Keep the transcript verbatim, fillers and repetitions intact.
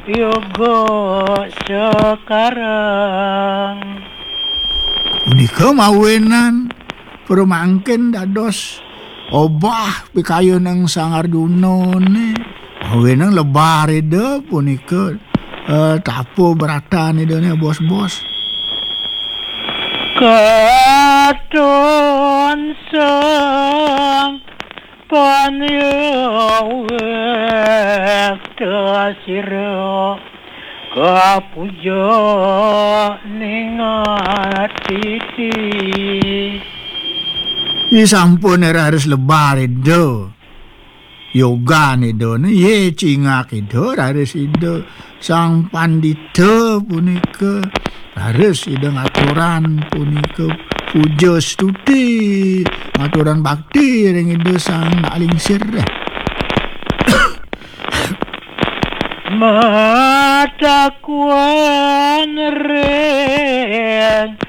yoga sekarang. Punika mawinan pramangkin dados obah pikayuning Sang Arjunane. Mawinan lebar Ida punika, eh, tapa bratan Idane bos-bos. Katon sang panyawekta sira kapuja ning atiti. Disampun raris lebar Ida. Yogan Idane, ye cingak Ida, raris Ida Sang Pandita punika, raris Ida ngaturan punika puja stuti, ngaturan bakti ring Ida Sang Nak Lingsir. Matakuan